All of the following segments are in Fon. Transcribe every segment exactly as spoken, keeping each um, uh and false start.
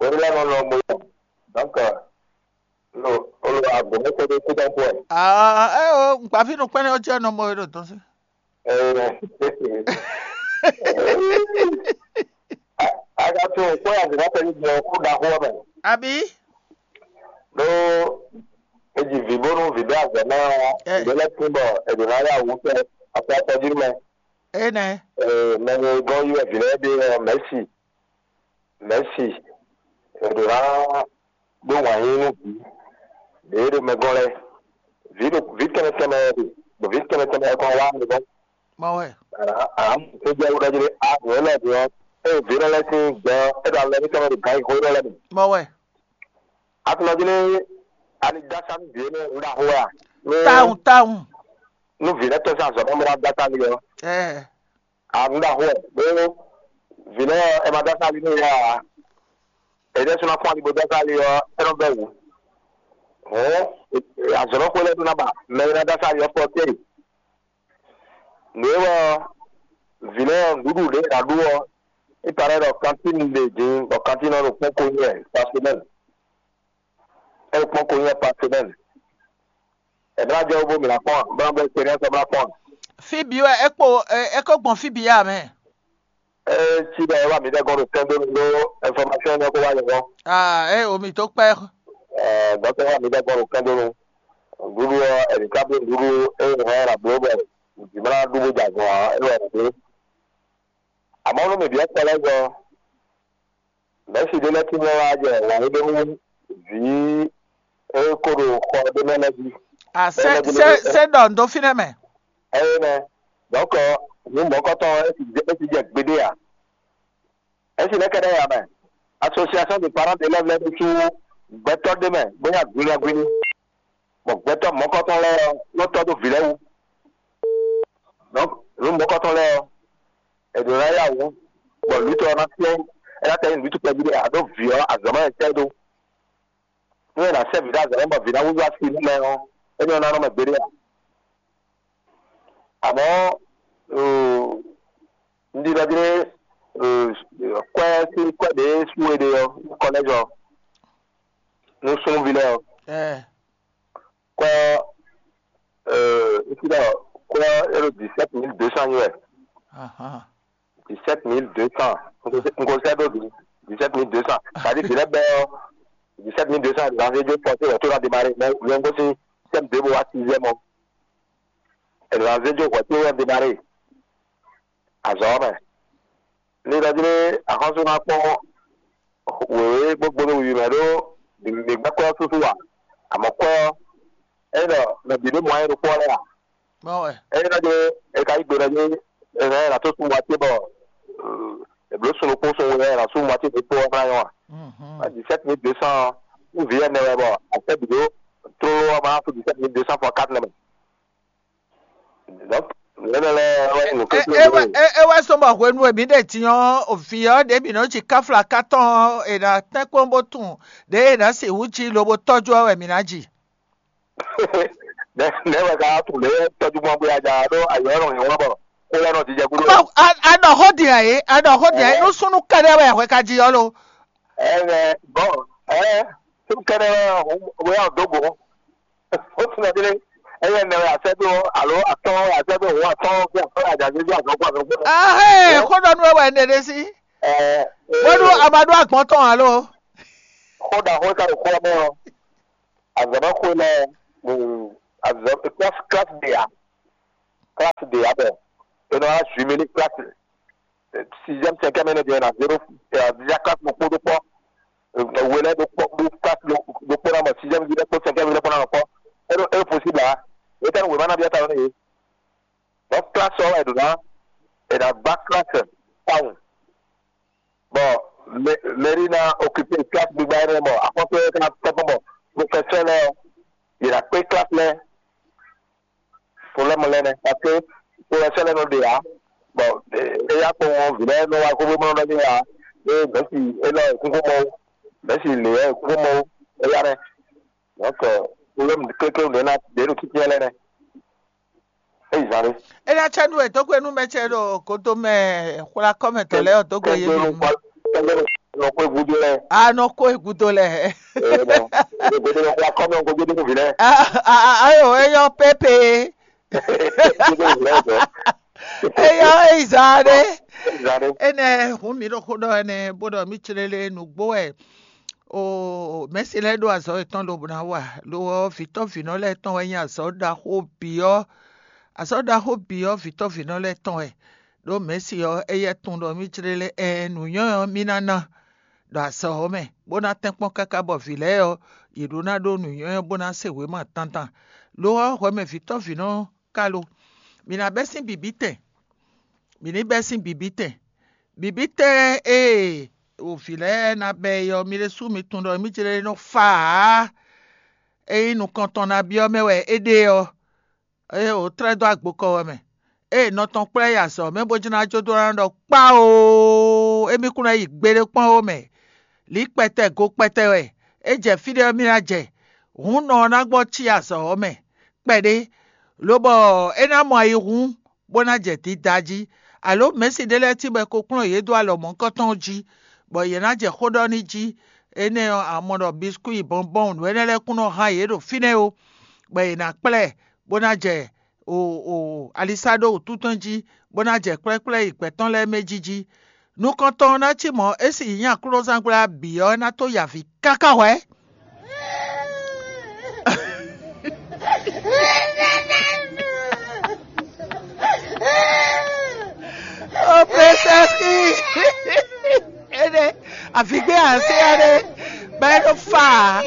Orí lɛ́ɛ nɔ nɔ mo yɔ. Donc, lo o lo agbǒmɛtɔ́ ɖé kú dán kú ɛ. Ah, eh, oh, un kpa fí nukpɛ́n ɔ́ jẹ́ nɔ mɔ e ɖo tɔn sí. Eh, a ka tún kpɔ́ ya zǐnà tɛ́ ní gbɔn kú ɖaxó ɔ́ mɛ. Àbí? Ɖó e ji vǐ bónú vǐ ɖé azɔ̌ ná. Eh. Vǐ lɛ́ɛ tín bɔ è ɖǒ ná yá wǔ tɛ afɔ atɔjú mɛ. Énɛ́. Mɛ e gɔ́n yí wɛ vǐ lɛ́ɛ ɖe ɔ́, mɛ̌si, mɛ̌si, è ɖǒ ná ɖó wǎn yí nú vǐ ɖě ɖo mɛ gɔ́n lɛ́ɛ. Vǐ ɖo vǐ tɛnmɛ tɛnmɛ wɛ ɖe, ɖo vǐ tɛnmɛ tɛnmɛ wɛ kɔn wá mi gɔ́n. Mɔ wɛ. Ǎ, ǎ, é jɛ wú ɖɔ jí ɖé, a, nǔ élɔ́ din ɔ́, ée vǐ lɛ́ɛ lɛ́ sín gbɛ ɔ́, é ɖo alɔ émítɔn mɛ ɖo gǎn yíxó élɔ́ lɛ́ɛ mɛ. Mɔ wɛ. A tunɔ jí ní a ní dó asá nú vǐ énɛ́ un ɖaxó wɛ a? Ní Tawun, tawun. Nú vǐ lɛ́ɛ tɔ́n sín azɔ̌ mɛ bó ná dó asá n'i ɔ́, Ɛɛ. A nǔ ɖaxó wɛ, ɖó vǐ lɛ́ɛ ɔ́, è ma dó asá n'i nú yɛ ǎ. È ɖɛ́ sú ná fún ali bó dó asá ali ɔ́, é nɔ bɛ́ wǔ. Hǔn azɔ̌ nɔ xwé lɛ́ɛ ɖó ná ba mɛ e ná dó asá ali ɔ́ fɔ téè. Nǔ e wɛ ɔ́, vǐ lɛ́ɛ ɔ́, nǔɖuɖu ɖě è nǎ ɖu ɔ́, é parɛ́ ɖɔ kantín ɖe din bɔ kantín ɔ́ ɖo kpɔ́n ko nyɛ par semaine. É ɖo kpɔ́n ko nyɛ par semaine. È bla jɛ wú bó mǐ ná kpɔ́n ǎ, bó ná blɛ́ expérience ɔ́ bó ná kpɔ́n ǎ. Fí bǐ wɛ é kpo, é, é kó gbɔn fí bǐ ǎ mɛ. É cí ɖɔ é wá mǐ ɖɛ́ gɔ́n ɖo sɛ́n dó nú ɖó information énɛ́ kó wá nyɛ gɔ́n. Ah, é o mǐ tó kpɛ́. Ɛɛ, dɔ̌tɔ́ wá mǐ ɖɛ́ gɔ́n ɖo sɛ́n dó nú. Nǔɖuɖu ɔ́, è nǐ ká bló nǔɖuɖu e è hɛn ɔ́ ɖo ablǒ bɔ Vǐ ma ná ɖu bó jɛ azɔn ǎ, é wɛ ɖě. Amɔ̌ nú mǐ byɔ́ kpɔlɛ́zɔ, mɛ̌si ɖé lɛ́ɛ tín lɛ́ wá jɛ wǎn yí ɖó nú vǐ e ko ɖo xɔ ɖé mɛ lɛ́ɛ jí. A se Ene se gbe se ɖɔ n dó fínɛ́ mɛ. Eye nɛ, dɔ̌nkɔ nǔ mɔ̌kɔtɔn ɔ́, é sixú jɛ gbeɖé ǎ. É si nɛ́ kɛ́ɖɛ́ ya mɛ, Association des parents d'élèves lɛ́ɛ ɖésú gbɛtɔ́ ɖé mɛ bó nyí agwinagwin ní, bɔ gbɛtɔ́ mɔ̌kɔtɔn lɛ́ɛ ɔ́ nɔ tɔ́ dó vǐ lɛ́ɛ wú. Donc nǔ mɔ̌kɔtɔn lɛ́ɛ ɔ́, è ɖǒ ná yá wǔ, bɔ lǔtɔ ɔ́ ná tɛ́ ɛ ná tɛ́ nyi nǔɖutu kpɛví ɖé ǎ ɖó vǐ ɔ́ azɔ̌ mɛ wɛ tɛ́ ɖó. Nú è nǎ sɛ́ vǐ ɖó azɔ̌ mɛ bɔ vǐ ná húzú asi nú mɛ ɔ́, é nyɔ́ ná nɔ mɛ gbeɖé ǎ. Amɔ̌, un ɖi ɖɔ jlé kwɛ́ sín kwɛ́ ɖě sú we ɖe ɔ́, kɔlɛ́jɔ nú súnnuví lɛ́ɛ ɔ́. Kwɛ́ ɔ́, un ɖi ɖɔ kwɛ́ ɔ́ é ɖo dix-sept mille deux cents nyí wɛ. Dix-sept mille deux cents. Un ko sɛ́ ɖó dix-sept mille deux cents. Tadi vǐ lɛ́ɛ bɛ́ ɔ́, dix-sept mille deux cents ɖo anzéjó fɔ tí wɛ tó ná démarré, mɛ wɛ un gosín tɛ́m dě bó wá sixième ɔ́. È nɔ anzéjó hwɛ tó wɛ démarré azɔ̌ ɔ́ mɛ. Ní ɖɔ jlé axɔ́sú ná kpɔ́n wěwé gbogbo ɖo wiwi mɛ ɖó mǐ gbɛ́ kwɛ́ ɔ́ súsú ǎ. Amɔ̌ kwɛ́ ɔ́, é ɖɔ mɛ bǐ ɖo mɔ ayé ɖokpó ɔ́ lɛ́ɛ ǎ. Mɔ wɛ. Ényí ná jló è ka yí gbe ɖɔ jí è nǎ ná tó sun moitié bɔ è blǒ sun ɖokpó sun we ɔ́, è nǎ sú moitié ɖokpó ɔ́ ná nyɔ́ a? Dix-sept mille deux cents ɔ́, nú vǐ ɛnɛ wɛ bɔ a sɛ́ bǐ dó tlóló ɔ́, ma ná sú dix-sept mille deux cents fois quatre nɛ́ mɛ. Donc nǔ énɛ́ lɛ́ɛ wɛ nyí nǔ klékléwú. É wɛ sɔ́ bɔ hwenu e mǐ ɖe din ɔ́, vǐ ɔ́ ɖě mǐ nɔ́ ji káflaká tɔn ɔ́, è nǎ tɛ́nkpɔ́n bó tunwun ɖěe è nǎ sixú ji lobo tɔ́jú ɛ wɛ mǐ ná ji. Nɛ̌ wɛ ka wá tunwun lě tɔ́jú gbɔn bó yá ja ɖó ayǐ ɔ́ nɔ nyɔ̌ bɔ xó lɛ́ɛ nɔ jijɛ gúdo? A ɖɔ xó din ǎ é, a ɖɔ xó din ǎ é, nú súnnu kɛ́ɖɛ́ wɛ hwɛ ka ji ɔ́ lo? Ɛnɛ bɔn ɛ súnnu kɛ́ɖɛ́ wɛ hɔn bó yá dó go. Ó tunwun ɖɔ délé, ɛyɛ nɛ wɛ asɛ́ dó alo atɔ́ wɛ asɛ́ dó hɔn atɔ́ fí atɔ́ yá ja zézé azɔn kó azɔn kó. Ahé, xó ɖɔ nú we wɛ un ɖe ɖé sí. Bónú a ma ɖó agbɔ̌n tɔn alo? Xó ɖaxó e ka ɖo xó ɔ́ mɛ ɔ́, azɔ̌mɛxwé lɛ́ɛ, azɔ̌ classe classe ɖe ǎ, classe ɖe ǎ bɔ è nɔ wá jumelé classe sixième cinquième énɛ́ din ɔ́, è nǎ zé ɖó è nǎ zé classe ɖokpó ɖó kpɔ́, we lɛ́ɛ ɖó kpɔ́ ɖó classe ɖokpó ná mɔ sixième ví lɛ́ɛ kpó cinquième ví lɛ́ɛ kpó ná nɔ kpɔ́. É ɖó é ɖó possible ǎ. Étɛ́ wěma ná byɔ́ ta nú yě? Donc classe ɔ́ wɛ è ɖǒ ná è nǎ gbá classe tawun. Bɔ mɛri ná okipe klasi gbigba énɛ́ bɔ axɔ́sú énɛ́ ká tɛ́nkpɔ́n bɔ profɛsɛ́ lɛ́ɛ ɔ́, yě ná kpé klasi lɛ́ɛ. Problème lɛ́ɛ nɛ́ parce que profɛsɛ́ lɛ́ɛ nɔ ɖe ǎ, bɔ éyá kpɔ́n ɔ́ vǐ lɛ́ɛ nɔ wá xóxó bó nɔ ɖɔ n'i ǎ. Ée mɛ̌si élɔ́ è kún xó mɔ ó, mɛ̌si lě ɔ́ è kún xó mɔ ó, éyá nɛ́. Donc problème klékléwú ɖě ná ɖě ɖo títí lɛ́ɛ nɛ́. É yi zán ɖé. É ná cɛ nú wɛ dó gbe nú mɛ ce ɖo godo mɛ xwla kɔ́ mɛ tɔn lɛ́ɛ ɔ́ dó gbe yě bǐ nu. Nɔ kó egudo lɛ. A nɔ kó egudo lɛ. Godo nɔ xwla kɔ́ mɛ godo nú vǐ lɛ. Ayo, é yɔ pépé. Godo nú vǐ lɛ dɔ. É yɔ é yi zán ɖé. Zán ɖé. Énɛ́ hǔn mǐ ɖo xó ɖɔ ɛnɛ bó ɖɔ mí clélé nǔgbó wɛ. O mɛ̌si lɛ́ɛ ɖó azɔ̌ yětɔn lobo ná wa. Lo ɔ́, vǐtɔ́ vǐnɔ lɛ́ɛ tɔn wɛ nyí azɔ̌ ɖaxó bǐ ɔ́. Azɔ̌ ɖaxó bǐ ɔ́, vǐtɔ́ vǐnɔ lɛ́ɛ tɔn wɛ. Ɖó mɛ̌si ɔ́, éyɛ́ tunwun ɖɔ mí jlé lɛ́ ɛ nǔnywɛ́ ɔ́ mí ná ná ɖo azɔ̌ ɔ́ mɛ, bó ná tɛ́nkpɔ́n káká bɔ vǐ lɛ́ɛ ɔ́, yě ɖó ná ɖó nǔnywɛ́ ɔ́ bó ná se wěma dandan. Lo ɔ́, hwɛ mɛ vǐtɔ́ vǐnɔ ɔ́ ka lo. Mǐ ná bɛ́ sín bǐbítɛn. Mǐ ní bɛ́ sín bǐbítɛn. Bǐbítɛn e vǐ lɛ́ɛ ná bɛ́ é ɔ́, mi ɖésú mi tunwun ɖɔ mí jlé nɔ fa ǎ. Ényí nukɔntɔn ná byɔ́ mɛ wɛ é ɖe ɔ́, é wǒ tlɛ́ dó agbokɔ wɛ mɛ. Ée nɔ tɔn kplá yi azɔ̌ mɛ bó jló ná jó dó ná ɖɔ kpáoo, émí kún ná yi gbeɖé kpɔ́n ó mɛ. Lǐ kpɛtɛ go kpɛtɛ wɛ é jɛ fí ɖé ɔ́ mì ná jɛ. Hǔn nɔ ɔ́ ná gbɔ cí azɔ̌ ɔ́ mɛ kpɛɖé, lobɔ é ná mɔ ayihún bó ná jɛ dida jí. Alo mɛ̌si ɖé lɛ́ɛ cí bɔ è ko kplɔ́n yě dó alɔ mɔ̌hunkɔtɔn jí, bɔ yě ná jɛ xó ɖɔ n'i jí. Énɛ́ ɔ́, a mɔ ɖɔ biskwíi, bɔnbɔn, nǔ énɛ́ lɛ́ɛ kún nɔ hán yě ɖo fínɛ́ ó, bɔ yě ná kplá ɛ bó ná jɛ o o alisá ɖó wǔtúntɔn jí, bó ná jɛ kplɛ́kplɛ́ yi gbɛ̌ tɔn lɛ́ɛ mɛ jí jí. Nukɔntɔn ɔ́ ná cí mɔ̌, é sì nyí aklúnɔzángbla bǐ ɔ́ ná tó yi avǐ káká hwɛ̌. Avǐgbé ǎ, sé ɔ́ ɖé, bɔ é ɖo fá ǎ.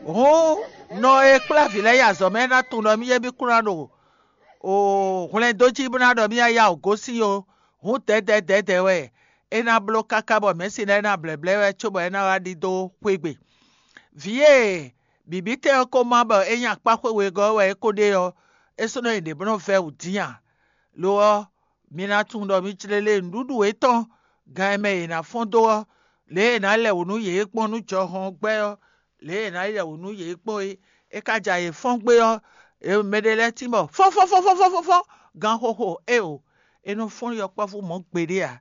Hǔn nɔ e kplá vǐ lɛ́ɛ yi azɔ̌ mɛ ná tunwun ɖɔ mì yé mì kún ná ɖo hwlɛndó jí bó ná ɖɔ mì yá yá wǔ gosín ó. Hǔn dɛ̌dɛ̌ dɛ̌dɛ̌ wɛ é ná bló káká bɔ mɛ̌si lɛ́ɛ ná blɛ̌blɛ́ wɛ cóbɔ é ná wá ɖidó xwé gbe. Vǐ e bǐbítɛn ɔ́ ko má bɔ é nyí akpá xwe wegɔ́ wɛ é ko ɖe ɔ́, é sɔ́ nɔ nyi ɖě bó nɔ́ vɛ́ wǔ dín ǎ. Lo ɔ́, mi ná tunwun ɖɔ mi jlé lé nǔɖuɖu yětɔn gan e mɛ yě ná fɔ́n dó ɔ́, lě e è nǎ lɛ wǔ nú yě gbɔn nú jɔhɔn gbɛ́ ɔ́, lě e è nǎ lɛ wǔ nú yě gbɔn é, é ka ja yě fɔ́n gbé ɔ́, mɛɖé lɛ́ɛ tín bɔ fɔ́nfɔ́nfɔ́nfɔ́nfɔ́n gan xóxó éeǒ. É nɔ fɔ́n yɔkpɔ́vú mɔ̌ gbeɖé ǎ.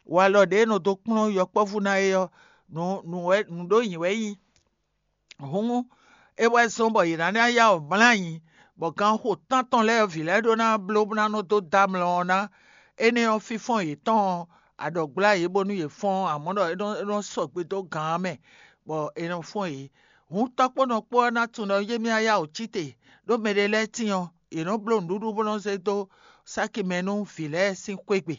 Walɔ ɖě e nɔ dó kplɔ́n yɔkpɔ́vú ná é ɔ́, nǔ nǔ wɛ nǔ ɖó nyǐ wɛ é nyí. Hǔn é wɛ zɔ́n bɔ yě ná ná yá wǔ mlá ayǐ, bɔ ganxo tántɔn lɛ́ɛ vǐ lɛ́ɛ ɖó ná bló bó ná nɔ dó dó amlɔ ɔ́ ná. Énɛ́ ɔ́, fínfɔ́n yětɔn ɔ́, a ɖɔ gbla yě bónú yě fɔ́n ǎ, mɔ̌ ɖɔ é nɔ é nɔ sɔgbe dó gǎn ɔ́ mɛ, bɔ è nɔ fɔ́n yě. Hǔn tɔ́kpónɔ kpó ɔ́ ná tunwun ɖɔ yé mì yá wǔ cí te, ɖó mɛɖé lɛ́ɛ tíin ɔ́, yě nɔ́ bló nǔɖuɖu bó nɔ́ zé dó sáki mɛ nú vǐ lɛ́ɛ sín xwé gbe,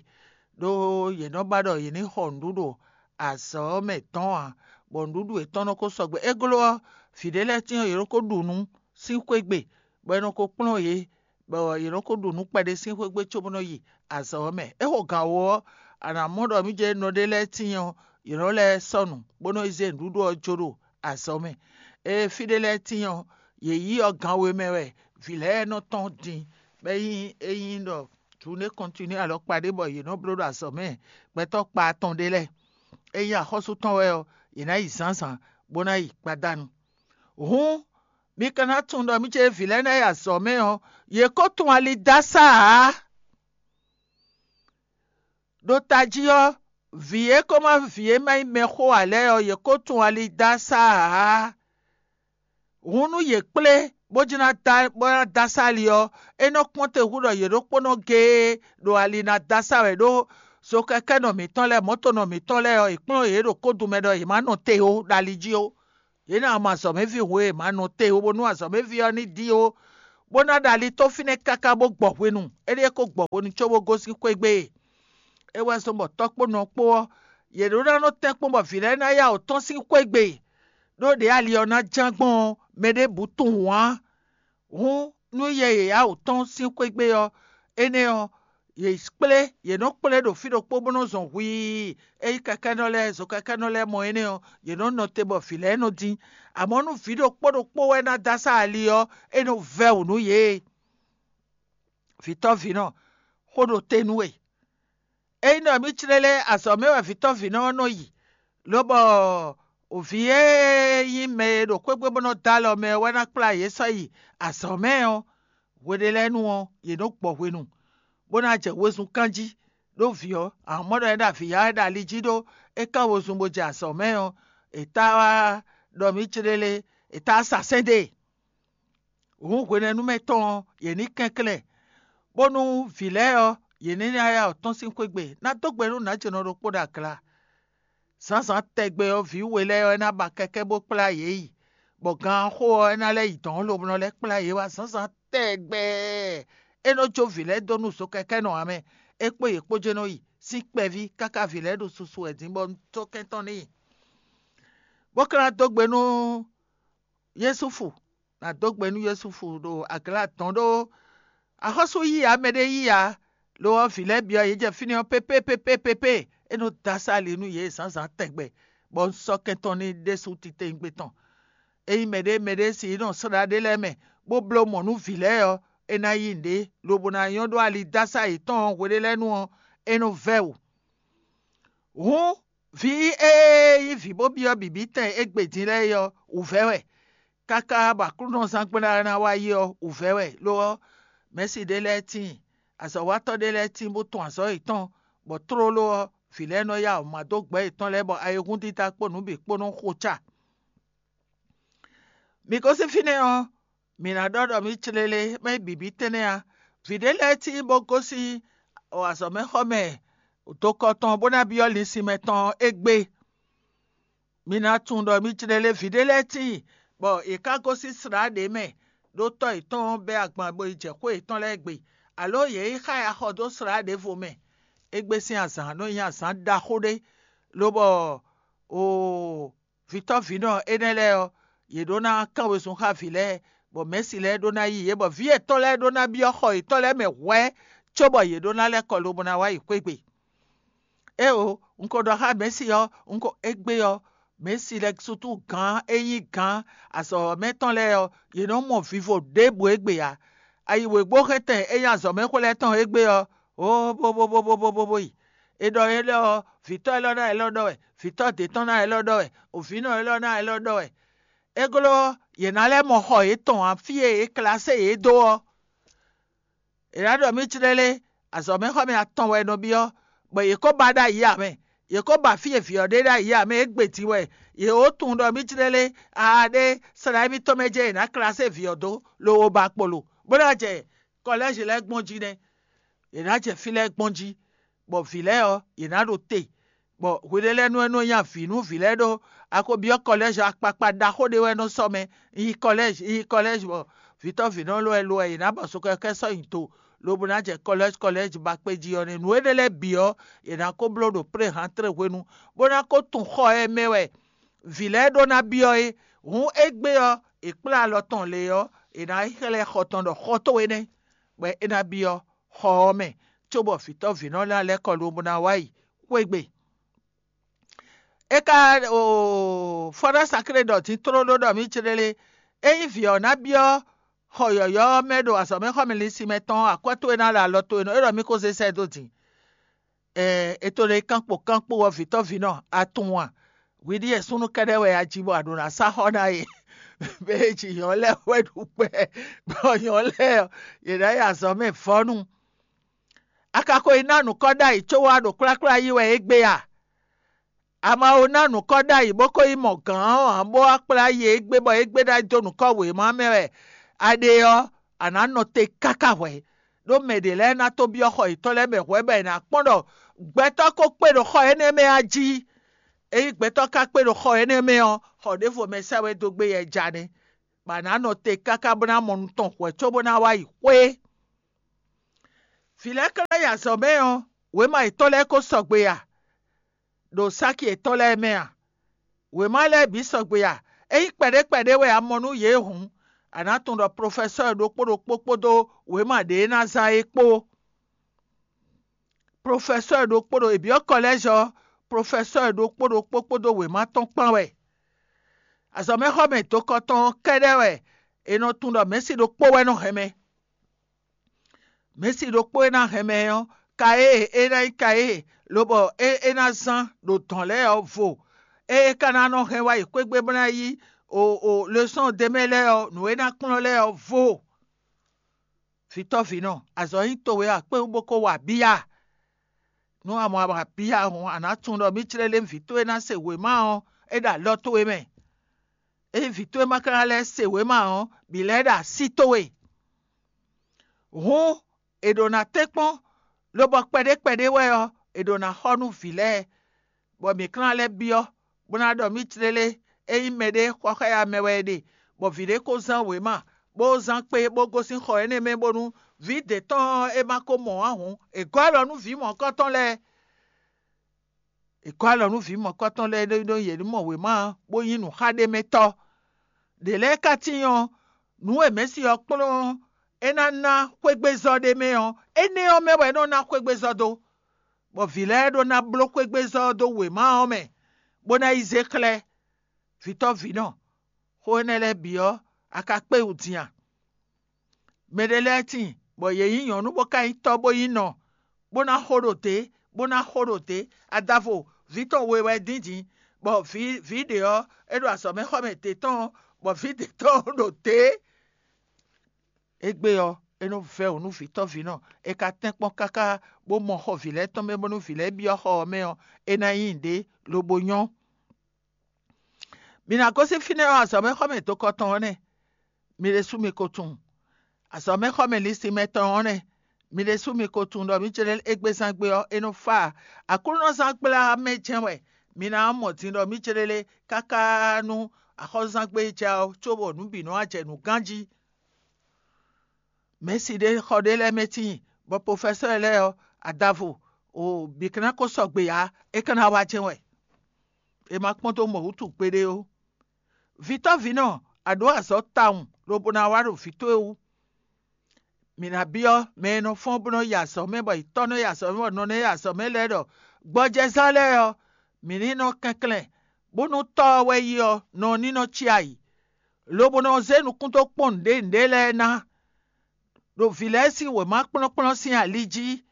ɖó yě nɔ́ ba ɖɔ yě ní xɔ nǔɖuɖu azɔ̌ ɔ́ mɛ dɔ̌n ǎ, bɔ nǔɖuɖu yětɔn nɔ ko sɔgbe. É gló ɔ́, vǐ ɖé lɛ́ɛ tíin ɔ́, yě nɔ ko ɖu nǔ sín xwé gbe, bɔ è nɔ ko kplɔ́n yě, bɔ yě nɔ ko ɖu nǔ kpɛɖé sín xwé gbe cóbó nɔ yi azɔ̌ ɔ́ mɛ. É xo gǎn wú ɔ́, a nǎ mɔ ɖɔ mǐ jɛ nɔ ɖé lɛ́ɛ tíin ɔ́, yě nɔ lɛ́ sɔ́ nǔ, bó nɔ yi zé nǔɖuɖu ɔ́ jó ɖo azɔ̌ mɛ. Ée fí ɖé lɛ́ɛ tíin ɔ́, yě yí ɔ́ gan we mɛ wɛ vǐ lɛ́ɛ nɔ tɔ́n din, bɔ é nyí é nyí ɖɔ jǔnée kɔntinué alɔkpa ɖé bɔ yě nɔ bló ɖo azɔ̌ mɛ gbɛtɔ́ kpa atɔn ɖé lɛ́ɛ. É nyí axɔ́sú tɔn wɛ ɔ́, yě ná yi zǎnzǎn, bó ná yi gbadanu. Hǔn, mi ka ná tunwun ɖɔ mǐ ce vǐ lɛ́ɛ ná yi azɔ̌ mɛ ɔ́, yě ko tunwun ali dó asá ǎ. Ɖo tají ɔ́, vǐ e ko má vǐ e má nyí mɛxó ǎ lɛ́ɛ ɔ́, yě ko tunwun ali dó asá ǎ. Hǔn nú yě kplé bó jló ná dó bó ná dó asá ali ɔ́, é nɔ kpɔ́n te hú ɖɔ yě ɖokpónɔ géé ɖo ali ná dó asá wɛ ɖó zokɛkɛ́nɔ mǐtɔn lɛ́ɛ, mɔ̌tonɔ mǐtɔn lɛ́ɛ ɔ́, è kplɔ́n yě ɖo kódun mɛ ɖɔ yě má nɔ te ó ɖo ali jí ó. Yě ná mɔ azɔ̌mɛví hwe e è ma nɔ te ó, bónú azɔ̌mɛví ɔ́ ní dín ó, bó ná ɖo ali tó fínɛ́ káká bó gbɔ hwenu. Éɖée ko gbɔ hwenu cóbó gosín xwé gbe. É wɛ zɔ́n bɔ tɔ́kpónɔ kpó ɔ́, yě ɖó ná nɔ tɛ́nkpɔ́n bɔ vǐ lɛ́ɛ ná yá wǔ tɔ́n sín xwé gbe, ɖó ɖě ali ɔ́ ná ján gbɔn ɔ́, mɛ ɖěbǔ tunwun ǎ. Hǔn nú yɛ yě yá wǔ tɔ́n sín xwé gbe ɔ́, énɛ́ ɔ́, yě kplé yě nɔ kplé ɖo fí ɖokpó bó nɔ zɔn hwii. Ényí kɛkɛ́nɔ lɛ́ɛ zokɛkɛ́nɔ lɛ́ɛ mɔ énɛ́ ɔ́, yě nɔ nɔ te bɔ vǐ lɛ́ɛ nɔ dín. Amɔ̌ nú vǐ ɖokpó ɖokpó wɛ ná dó asá ali ɔ́, é nɔ vɛ́ wǔ nú yě. Vǐtɔ́vǐnɔ, xó ɖo te nú we. Ényí ɖɔ mǐ clé lɛ́ɛ azɔ̌ mɛ wɛ vǐtɔ́vǐnɔ ɔ́ nɔ yi, lobɔ vǐ e nyí mɛ e ɖo xwé gbe bó nɔ dó alɔ mɛ ɔ́ wɛ ná kplá yě sɔ́ yi azɔ̌ mɛ ɔ́, hwe ɖé lɛ́ɛ nu ɔ́, yě nɔ gbɔ hwenu, bó ná jɛ wezun kán jí. Ɖó vǐ ɔ́, ahɔ̌nmɔ́ ɖɔ é ɖo avǐ ya wɛ ɖo ali jí ɖó é kán wezun bó jɛ azɔ̌ mɛ ɔ́, è tá wá ɖɔ mǐ céɖélé, è tá wá sa sɛ́n dó e. Hǔn hwenɛ́nu mɛ tɔn ɔ́, yě ní kɛnklɛ́n, bónú vǐ lɛ́ɛ ɔ́, yě ní ná yá wǔ tɔ́n sín xwé gbe, ná dó gbe nú nǎjínɔ ɖokpó ɖo agla. Zǎnzǎn tɛgbɛ ɔ́, vǐ we lɛ́ɛ ɔ́, é ná ba kɛkɛ́ bó kplá yě yi, bɔ gan xó ɔ́, é ná lɛ́ yi dɔ̌n lobo nɔ lɛ́ kplá yě wá zǎnzǎn tɛgbɛ. É nɔ jó vǐ lɛ́ɛ dó nú zokɛkɛ́nɔ ǎ mɛ, é kpó yě kpó jɛ́n nɔ yi sín kpɛví káká vǐ lɛ́ɛ ɖo susu wɛ dín bɔ un tó kɛn tɔn n'i, bó ka ná dó gbe nú Yúsúfu, ná dó gbe nú Yúsúfu ɖo agla dɔn ɖó axɔ́sú yí ǎ, mɛɖé yí ǎ. Lo ɔ́, vǐ lɛ́ɛ byɔ́ yě jɛ fínɛ́ ɔ́ pépépépépépé, é nɔ dó asá ali nú yě zǎnzǎn tɛgbɛ, bɔ un sɔ́ kɛn tɔn n'i ɖésú titewungbe tɔn. Ényí mɛɖé mɛɖé si nɔ slá ɖé lɛ́ɛ mɛ, bó bló mɔ̌ nú vǐ lɛ́ɛ ɔ́, é ná yí nǔɖé, lobo ná nyɔ́ ɖó ali dó asá yětɔn ɔ́ hwe ɖé lɛ́ɛ nu ɔ́, é nɔ vɛ́ wǔ. Hǔn, vǐ e nyí vǐ bó byɔ́ bǐbítɛn égbé din lɛ́ɛ é ɔ́, wǔvɛ́ wɛ, káká bɔ aklúnɔzán gblá ná wá yi ɔ́, wǔvɛ́ wɛ. Lo ɔ́, mɛ̌si ɖé lɛ́ɛ tíin, azɔ̌watɔ́ ɖé lɛ́ɛ tíin bó tɔn azɔ̌ yětɔn, bɔ tlóló ɔ́, vǐ lɛ́ɛ nɔ yá wǔ má dó gbɛ̌ yětɔn lɛ́ɛ, bɔ ayihúndídá kpó nǔ bǐ kpó nɔ xo ca. Mi gosín fínɛ́ ɔ́, mǐ ná ɖɔ ɖɔ mǐ clélé, mɛ bǐbí tɛ́nnɛ ǎ. Vǐ ɖé lɛ́ɛ tíin bó gosín azɔ̌mɛxɔmɛ dokɔ tɔn bó ná byɔ́ linsin mɛtɔn égbé. Mi ná tunwun ɖɔ mǐ clélé vǐ ɖé lɛ́ɛ tíin, bɔ yě ká gosín slǎ ɖě mɛ, ɖó tɔ́ yětɔn bɛ́ agban bo yi jɛ xwé yětɔn lɛ́ɛ gbe, alǒ yě yi xá ya xɔ dó slǎ ɖěvo mɛ. Égbé sín azǎn nɔ nyí azǎn ɖaxó ɖé, lobɔ Oo, vǐtɔ́ vǐnɔ énɛ́ lɛ́ɛ ɔ́, yě ɖó ná kán wezun xá vǐ lɛ́ɛ, bɔ mɛ̌si lɛ́ɛ ɖó ná yí yě, bɔ vǐ yětɔn lɛ́ɛ ɖó ná byɔ́ xɔ yětɔn lɛ́ɛ mɛ hwɛ̌, cóbɔ yě ɖó ná lɛ́ kɔ lobo ná wá yi xwé gbe. Éeǒ, un ko ɖɔ xá mɛ̌si ɔ́, un ko égbé ɔ́, mɛ̌si lɛ́ɛ sútú gǎn e nyí gǎn azɔ̌mɛ tɔn lɛ́ɛ ɔ́, yě nɔ mɔ vivo ɖěbǔ égbé ǎ. Ayi wěgbóhɛntɛn e nyí azɔ̌mɛxwé lɛ́ɛ tɔn égbé ɔ́, ó bó bó bó bó bó bó bó yi. È ɖɔ énɛ́ ɔ́, vǐtɔ́ élɔ́ ná élɔ́ ɖɔ wɛ, vǐtɔ́ dě tɔn ná élɔ́ ɖɔ wɛ, vǐnɔ élɔ́ ná élɔ́ ɖɔ wɛ. É glɔ́ ɔ́, yě ná lɛ́ mɔ xɔ yětɔn ǎ, fí e è klasé yě dó ɔ́. È nǎ ɖɔ mì clélé, azɔ̌mɛxɔmɛ atɔn wɛ è nɔ byɔ́, bɔ yě ko ba ɖ'ayǐ ǎ mɛ. Yě ko ba fí e vǐ ɔ́ ɖe ɖ'ayǐ ǎ mɛ, é gbe din wɛ. Yě wǒ tunwun ɖɔ mì clélé, aa ɖé, slá émítɔn mɛ jɛ́n è nǎ klasé vǐ ɔ́ dó, lobo ba kpolo, bó ná jɛ kɔlɛ́zi lɛ́ɛ gbɔn jí nɛ́. Yě ná jɛ fí lɛ́ɛ gbɔn jí, bɔ vǐ lɛ́ɛ ɔ́, yě ná ɖo te, bɔ hweɖé lɛ́ɛ nú é nɔ nya vǐ nú vǐ lɛ́ɛ ɖó. A ko byɔ́ kɔlɛ́zi akpakpa ɖaxó ɖé wɛ nɔ sɔ́ mɛ, yi kɔlɛ́zi, yi kɔlɛ́zi, bɔ vǐtɔ́ vǐnɔ lɔ wɛ lo wɛ yě ná ba sukɛkɛ sɔ́ nyi do, lobo ná jɛ kɔlɛ́zi kɔlɛ́zi ba kpé jí ɔ́ nɛ́. Nǔ énɛ́ lɛ́ɛ bǐ ɔ́, yě ná ko bló ɖo préhantré hwenu, bó ná ko tunwun xɔ e mɛ wɛ vǐ lɛ́ɛ ɖó ná byɔ́ é. Hǔn égbé ɔ́, è kplá alɔ tɔn lě ɔ́, è nǎ yi xlɛ́ xɔ tɔn ɖɔ xɔ towe nɛ́, bɔ é ná byɔ́ xɔ ɔ́ mɛ, cóbɔ vǐtɔ́ vǐnɔ lɛ́ɛ lɛ́ kɔ lobo ná wá yi xwé gbe. É ka oo, fɔ́ ná saklé ɖɔ din tlóló ɖɔ mì céɖélé, ényí vǐ ɔ́ ná byɔ́ xɔ yɔ̌yɔ́ ɔ́ mɛ ɖo azɔ̌mɛxɔmɛ linsin mɛ tɔn ɔ́, akwɛ́ towe ná ɖo alɔ towe nɔ, é ɖɔ mì ko zé sɛ́ dó din. Ɛɛ, è to ɖe kankpo kankpo ɔ́, vǐtɔ́ vǐnɔ, a tunwun a? Hwi ɖíe súnnu kɛ́ɖɛ́ wɛ a ji bɔ a ɖǒ ná sá xɔ ná e. Mɛ e ji nyɔ̌ lɛ́ɛ wɛ ɖu kpɛ, bɔ nyɔ̌ lɛ́ɛ ɔ́, yě ná yi azɔ̌ mɛ vɔ́nu. A ka ko yi ná nǔkɔ ɖ'ayǐ có wá ɖo kplákplá yí wɛ égbé a? A ma ko ná nǔkɔ ɖ'ayǐ bó ko yi mɔ gǎn ɔ́ ǎ, bó wá kplá yí égbé bɔ égbé ná dó nǔkɔ wěma mɛ wɛ a ɖe ɔ́, a nǎ nɔ te káká hwɛ̌. Ɖó mɛ ɖě lɛ́ɛ ná tó byɔ́ xɔ yětɔn lɛ́ɛ mɛ hwɛ̌ bɔ è nǎ kpɔ́n ɖɔ gbɛtɔ́ ko kpé ɖo xɔ énɛ́ mɛ a jí. Ényí gbɛtɔ́ ka kpé ɖo xɔ énɛ́ mɛ ɔ́, xɔ ɖěvo mɛ sɛ́ wɛ dó gbé yɛ ja nɛ́, bɔ a nǎ nɔ te káká bó ná mɔ nú tɔn hwɛ̌ cóbó ná wá yi xwé. Vǐ lɛ́ɛ ka ná yi azɔ̌ mɛ ɔ́, wěma yětɔn lɛ́ɛ ko sɔgbe a? Ɖo sáki yětɔn lɛ́ɛ mɛ a? Wěma lɛ́ɛ bǐ sɔgbe a? Ényí kpɛɖé kpɛɖé wɛ a mɔ nú yě hǔn, a nǎ tunwun ɖɔ plofɛsɔ́ɔ ɖokpó ɖokpó kpódó wěma ɖě e ná zán é kpó. Plofɛsɔ́ɔ ɖokpó ɖo è byɔ́ kɔlɛ́zi ɔ́, plofɛsɔ́ɔ ɖokpó ɖokpó kpódó wěma tɔn kpán wɛ. Azɔ̌mɛxɔmɛ dokɔtɔn ɔ́ kɛ́ɖɛ́ wɛ è nɔ tunwun ɖɔ mɛ̌si ɖokpó wɛ nɔ hɛn mɛ. Mɛ̌si ɖokpó e ná hɛn mɛ ɔ́, ka e é ná nyí ka e lobɔ é é ná zán ɖo dɔ̌n lɛ́ɛ ɔ́ vo. Ée é ka ná nɔ hɛn wá yi xwé gbe bó ná yí o o lesɔ́n ɖ'é mɛ lɛ́ɛ ɔ́, nǔ e ná kplɔ́n lɛ́ɛ ɔ́ vo. Vǐtɔ́ vǐnɔ, azɔ̌ nyí towe a kpé wú bó ko wa bíya? Nú a mɔ a wa bíya hǔn, a nǎ tunwun ɖɔ mì clélé vǐ towe ná se wěma ɔ́, é ɖo alɔ towe mɛ. Ényí vǐ towe ma ka ná lɛ́ se wěma ɔ́, bǐ lɛ́ ɖo así towe. Hǔn è ɖǒ ná tɛ́nkpɔ́n, lobɔ kpɛɖé kpɛɖé wɛ ɔ́, è ɖǒ ná xɔ nú vǐ lɛ́ɛ, bɔ mǐ klán lɛ́ byɔ́, bó ná ɖɔ mì clélé, ényí mɛɖé xɔ xá ya mɛ wɛ è ɖe, bɔ vǐ ɖé ko zán wěma, bó zán kpé, bó gosín xɔ énɛ́ mɛ bónú vǐ d'é tɔn ɔ́ é ma ko mɔ ǎ hǔn, è gɔ́ alɔ nú vǐ mɔ̌hunkɔtɔn lɛ́ɛ. È gɔ́ alɔ nú vǐ mɔ̌hunkɔtɔn lɛ́ɛ ɖó ɖó yě ní mɔ wěma ɔ́, bó nyí nǔxaɖémɛtɔ́. Ɖě lɛ́ɛ ka tíin ɔ́, nǔ e mɛ̌si ɔ́ kplɔ́n ɔ́, é ná ná xwégbézɔ́ ɖé mɛ ɔ́, énɛ́ ɔ́ mɛ wɛ é nɔ ná xwégbézɔ́ dó, bɔ vǐ lɛ́ɛ ɖó ná bló xwégbézɔ́ ɔ́ dó wěma ɔ́ mɛ, bó ná yi zé xlɛ́. Vǐtɔ́ vǐnɔ, xó énɛ́ lɛ́ɛ bǐ ɔ́, a ka kpé wú din a? Mɛɖé lɛ́ɛ tíin, bɔ yě nyí nyɔ̌nu bó ka nyí tɔ́ bó nyí nɔ, bó ná xo ɖo dě, bó ná xo ɖo dě. Adavo, vǐ tɔn we wɛ dín din, bɔ vǐ vǐ ɖě ɔ́, é ɖo azɔ̌mɛxɔmɛ dě tɔn, bɔ vǐ dě tɔn ɖo dě. Égbé ɔ́, é nɔ vɛ́ wǔ nú vǐtɔ́ vǐnɔ, è ka tɛ́nkpɔ́n káká bó mɔ xɔ vǐ lɛ́ɛ tɔn mɛ bónú vǐ lɛ́ɛ byɔ́ xɔ ɔ́ mɛ ɔ́, é ná nyí nǔɖé lobo nyɔ́. Mi ná gosín fínɛ́ ɔ́, azɔ̌mɛxɔmɛ dokɔtɔn ɔ́ nɛ́; mi ɖésú mi ko tunwun. Azɔ̌mɛxɔmɛ linsin mɛtɔn ɔ́ nɛ́; mi ɖésú mi ko tunwun ɖɔ mǐ céɖé égbé zán gbé ɔ́, é nɔ fá ǎ. Aklúnɔzán gbla mɛ jɛ́n wɛ mi ná mɔ din ɖɔ mǐ céɖélé káká nú axɔ́zán gbé jɛ ɔ́, cóbɔ nǔ bǐ nɔ wá jɛ nǔ ganjí. Mɛ̌si ɖé xɔ ɖé lɛ́ɛ mɛ tíin, bɔ profɛsɔ́ɔ lɛ́ɛ ɔ́, adavo, o bǐ ka ná ko sɔgbe ǎ; é ka ná wá jɛ́n wɛ. è ma kpɔ́n dó mɔ wútu gbeɖé ó. Vǐtɔ́vǐnɔ, a ɖǒ azɔ̌ tawun lobo ná wá ɖo vǐ towe wú. Mǐ ná byɔ́ mɛ e nɔ fɔ́n bó nɔ́ yi azɔ̌ mɛ, bɔ yi tɔ́ nɔ́ yi azɔ̌ mɛ, bɔ nɔ nɔ́ yi azɔ̌ mɛ lɛ́ɛ ɖɔ gbɔjɛzán lɛ́ɛ ɔ́, mǐ ní nɔ kɛnklɛ́n, bónú tɔ́ ɔ́ wɛ yí ɔ́, nɔ ní nɔ cí ayǐ, lobo nɔ zé nukún dó kpɔ́n nǔɖé nǔɖé lɛ́ɛ ná, ɖo vǐ lɛ́ɛ sín wěma kplɔ́nkplɔ́n sín ali jí.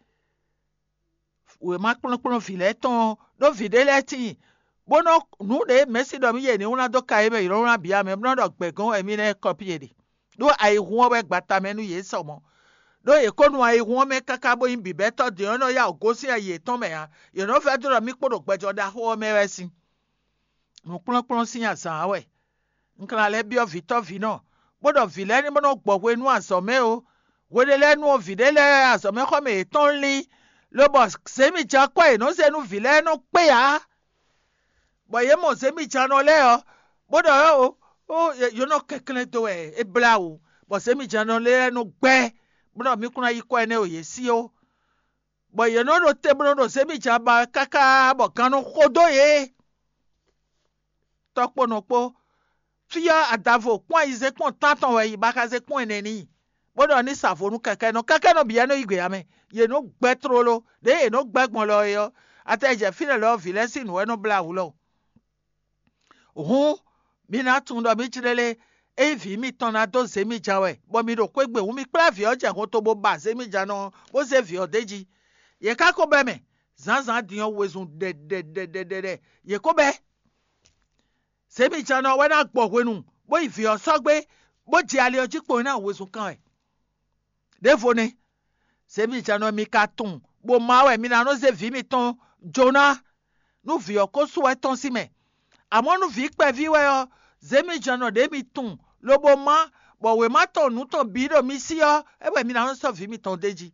Wěma kplɔ́nkplɔ́n vǐ lɛ́ɛ tɔn ɔ́, ɖó vǐ ɖé lɛ́ɛ tíin, bó nɔ́ nǔ ɖě mɛ̌si ɖɔ mì yě ní wlán dó ka é mɛ, yě nɔ́ wlán bǐ ǎ mɛ, bó nɔ́ ɖɔ gbɛ̌gɔ́n wɛ mì nɛ́ kɔ́ pí yě ɖe, ɖó ayihún ɔ́ wɛ gbata mɛ nú yě sɔ mɔ̌. Ɖó yě ko nu ayihún ɔ́ mɛ káká bó nyí bǐbɛ́tɔ́ din ɔ́ nɔ yá wǔ gosín ayi yětɔn mɛ ǎ; yě nɔ vɛ́ dó ɖɔ mì kpo ɖo gbɛjɔ ɖaxó ɔ́ mɛ wɛ sín. Nǔkplɔ́nkplɔ́n sín azǎn ɔ́ wɛ. Un ka ná lɛ́ byɔ́ vǐtɔ́vǐnɔ, bó ɖɔ vǐ lɛ́ɛ ní bó nɔ́ gbɔ hwe nú azɔ̌ mɛ ó. Hwe ɖé lɛ́ɛ nu ɔ́, vǐ ɖé lɛ́ɛ azɔ̌mɛxɔmɛ yětɔn lín, lobɔ zěmijǎkwɛ́ e è nɔ zé nú vǐ lɛ́ɛ nɔ kpé ǎ, bɔ yě mɔ zěmijǎnɔ lɛ́ɛ ɔ́, bó ɖɔ ɔ́ ó, ó, yě nɔ kɛnklɛ́n dó wɛ é blá wǔ, bɔ zěmijǎnɔ lɛ́ɛ nɔ gbɛ́, bó ɖɔ mì kún ná yí kɔ énɛ́ o yě sí ó. Bɔ yě nɔ ɖo te bó nɔ ɖo zěmijǎn ba wɛ káká bɔ gan nɔ xo dó yě. Tɔ́ kpó nɔ kpó, fí ɔ́ adavo kpɔ́n ayizɛ́n kpɔ́n tántɔn wɛ yi baxázɛ́n kpɔ́n ɛnɛ n'i, bó ɖɔ ní sa vo nú kɛkɛ́nɔ. Kɛkɛ́nɔ bǐ wɛ nɔ yí gbe ǎ mɛ; yě nɔ gbɛ́ tlóló, ɖěe yě nɔ gbɛ́ gbɔn lɔ é ɔ́, atɛ jɛ fínɛ́ lɔ ɔ́, vǐ lɛ́ɛ sín nǔ wɛ nɔ blá wǔ lɔ. Hǔn, mi ná tunwun ɖɔ mǐ jlélé, ényí vǐ mitɔn ná dó zě mi ja wɛ, bɔ mi ɖo xwé gbe hǔn, mi kplá vǐ ɔ́ jɛ hɔnto bó ba zě mi ja nɔ ɔ́, bó zé vǐ ɔ́ d'é jí. Yě ká ko bɛ́ mɛ, zǎnzǎn din ɔ́ wezun ɖɛɖɛɖɛɖɛɖɛ yě ko bɛ́. Zě mi ja nɔ wɛ ná gbɔ hwenu, bó yi vǐ ɔ́ sɔ́ gbé, bó jɛ ali ɔ́ jí kpo ná wezun kan wɛ. Ɖěvo nɛ́, zě mi ja nɔ mi ka tunwun, bó má wɛ mi ná nɔ zé vǐ mitɔn jó ná, nú vǐ ɔ́ ko sú wɛ tɔ́n sín mɛ. Amɔ̌ nú vǐ kpɛví wɛ ɔ́, zě mi ja nɔ ɖě mi tunwun, lobo má, bɔ wěma tɔn nǔ tɔn bǐ ɖo mi sí ɔ́, é wɛ mi ná nɔ sɔ́ vǐ mitɔn d'é jí,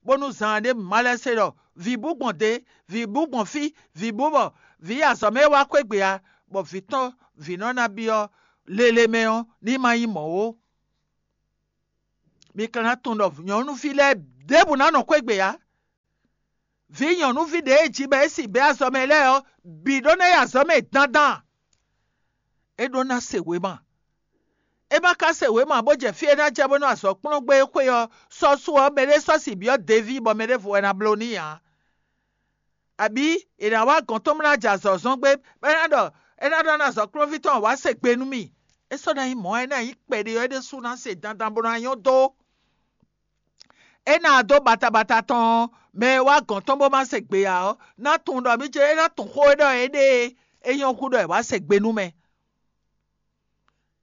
bónú zaan ɖé má lɛ́ se ɖɔ vǐ bú gbɔn dě, vǐ bú gbɔn fí, vǐ bú bɔ vǐ yi azɔ̌ mɛ wá xwé gbe ǎ, bɔ vǐ tɔn vǐ nɔ ná byɔ́ lele mɛ ɔ́, ní ma nyí mɔ̌ ó. Mi ka ná tunwun ɖɔ nyɔ̌nuví lɛ́ɛ ɖěbǔ ná nɔ xwé gbe ǎ. Vǐ nyɔ̌nuví ɖě e ji bɔ é sin bɛ́ azɔ̌ mɛ lɛ́ɛ ɔ́ bǐ ɖó ná yi azɔ̌ mɛ dandan. É ɖó ná se wěma. É ma ka se wěma bó jɛ fí e ná jɛ bónú azɔ̌ kplɔ́n gbé é xwé ɔ́, sɔ́ su ɔ́, mɛɖé sɔ́ sin byɔ́ Deví bɔ mɛ ɖěvo wɛ ná bló n'i ǎ. Abǐ è nǎ wá gɔ̌n tɔn bó ná jɛ azɔ̌ zɔ́n gbé, bɔ é ná ɖɔ é ná ɖɔ ná azɔ̌ kplɔ́nví tɔn wá se gbe nú mì. É sɔ́ ná nyí mɔ̌, é ná nyí kpɛɖé ɔ́, é ɖésú ná se dandan bó ná nyɔ́ dó. É ná dó batabata tɔn ɔ́, mɛ e wá gɔ̌n tɔn bó má se gbe ǎ ɔ́, ná tunwun ɖɔ mì ce é ná tunwun xó e ɖɔ é ɖe e é nyɔ́ hú ɖɔ è wá se gbe nú mɛ.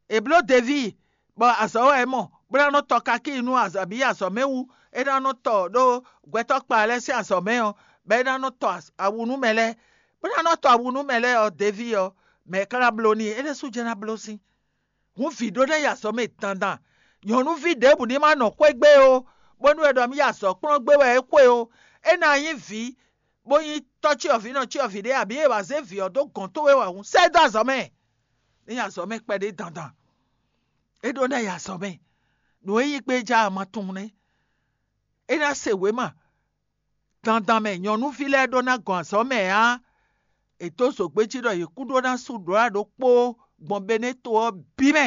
È bló Deví, bɔ azɔ̌ wɛ é mɔ, bó ná nɔ tɔ kakíi nú azɔ̌ bǐ azɔ̌ mɛ wú; é ná nɔ tɔ ɖó gbɛtɔ́ kpa lɛ́ɛ sín azɔ̌ mɛ ɔ́, bɔ é ná nɔ tɔ awu nú mɛ lɛ́ɛ, bó ná nɔ tɔ awu nú mɛ lɛ́ɛ ɔ́, Deví ɔ́, mɛ̌ ka ná bló n'i? É ɖésú jɛ́n ná bló sín. Hǔn vǐ ɖó ná yi azɔ̌ mɛ dandan. Nyɔ̌nuví ɖěbǔ ní ma nɔ xwé gbé ó, bónú è ɖɔ mì yi azɔ̌ kplɔ́n gbé wɛ é xwe ó. É ná nyí vǐ, bó nyí tɔ́ cyɔvǐ nɔ cyɔvǐ ɖé, abǐ è wǎ zé vǐ ɔ́ dó gɔ̌n towe wɛ hǔn, sɛ́ ɛ dó azɔ̌ mɛ. Ní yi azɔ̌ mɛ kpɛɖé dandan. É ɖó ná yi azɔ̌ mɛ. Nǔ e nyí gbé ja ma tunwun nɛ́. É ná se wěma dandan mɛ, nyɔ̌nuví lɛ́ɛ ɖó ná gɔn azɔ̌ mɛ ǎ. È dó zǒgbé jí ɖɔ yě kún ɖó ná sú ɖǒ ɖokpó gbɔn Benéto ɔ́ bǐ mɛ.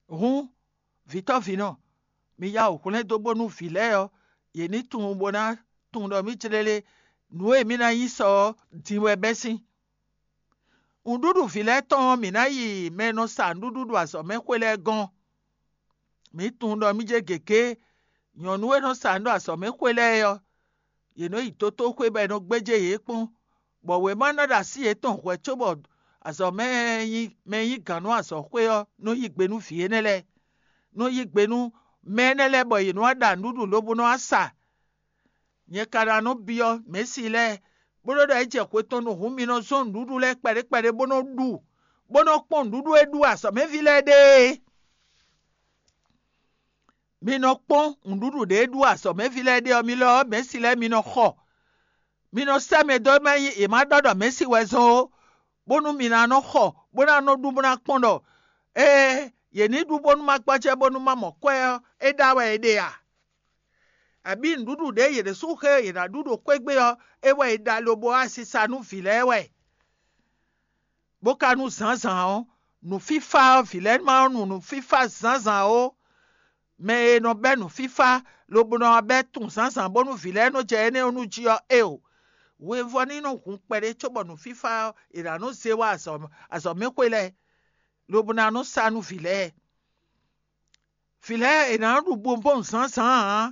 Hǔn, vǐtɔ́vǐnɔ, mi yá wǔ hwlɛ́n dó bónú vǐ lɛ́ɛ ɔ́, yě ní tunwun bó ná tunwun ɖɔ mǐ jlélé nǔ e mǐ ná nyí sɔ ɔ́ din wɛ bɛ́ sín. Nǔɖuɖu vǐ lɛ́ɛ tɔn ɔ́, mǐ ná yi mɛ e nɔ sa nǔɖuɖu ɖo azɔ̌ mɛ xwé lɛ́ɛ gɔ́n. Mǐ tunwun ɖɔ mí jɛ gěgé nyɔ̌nu e nɔ sa nǔ ɖo azɔ̌ mɛ xwé lɛ́ɛ é ɔ́, yě nɔ yi dotóxwé bɔ è nɔ gbéjé yě kpɔ́n, bɔ wěma ná ɖo así yětɔn hwɛ̌ cóbɔ azɔ̌ mɛ e nyí mɛ e nyí gǎn nú azɔ̌xwé ɔ́ nɔ yí gbe nú vǐ énɛ́ lɛ́ɛ, nɔ yí gbe nú mɛ énɛ́ lɛ́ɛ bɔ yě nɔ wá ɖa nǔɖuɖu lobo nɔ wá sa. Nyɛ ka ná nɔ byɔ́ mɛ̌si lɛ́ɛ, bó ɖɔ ɖɔ é jɛ xwe tɔn nu hǔn mi nɔ zɔ́n nǔɖuɖu lɛ́ɛ kpɛɖé kpɛɖé bó nɔ ɖu, bó nɔ kpɔ́n nǔɖuɖu e ɖu azɔ̌mɛví lɛ́ɛ ɖe é. Mi nɔ kpɔ́n nǔɖuɖu ɖě e ɖu azɔ̌mɛví lɛ́ɛ ɖe ɔ́, mi lɔ ɔ́, mɛ̌si lɛ́ɛ mi nɔ xɔ. Mi nɔ sɛ́ mɛ dó mɛ nyí è má ɖɔ ɖɔ mɛ̌si wɛ zɔ́n ó, bónú mi ná nɔ xɔ, bó ná nɔ ɖu, bó ná kpɔ́n ɖɔ ée yě ní ɖu bónú ma gbɔjɛ́ bónú ma mɔ kwɛ́ ɔ́, é ɖa wɛ è ɖe a? Abǐ nǔɖuɖu ɖě yě ɖésú xe yě ná ɖu ɖo xwé gbe ɔ́, é wɛ è ɖa lobo wá sisa nú vǐ lɛ́ɛ wɛ? Bó ka nú zǎnzǎn ɔ́, nǔfífá ɔ́, vǐ lɛ́ɛ ma nɔ nu nǔfífá zǎnzǎn ó. Mɛ e nɔ bɛ́ nǔfífá lobo nɔ wá bɛ́ tunwun zǎnzǎn bónú vǐ lɛ́ɛ nɔ jɛ énɛ́ ɔ́ nu jí ɔ́, é o. Hwevɔ́ ní nɔ hun kpɛɖé cóbɔ nǔfífá ɔ́, è nǎ nɔ zé wá azɔ̌mɛxwé lɛ́ɛ, lobo ná nɔ sa nú vǐ lɛ́ɛ. Vǐ lɛ́ɛ è nǎ ɖu bonbɔ́n zǎnzǎn ǎ.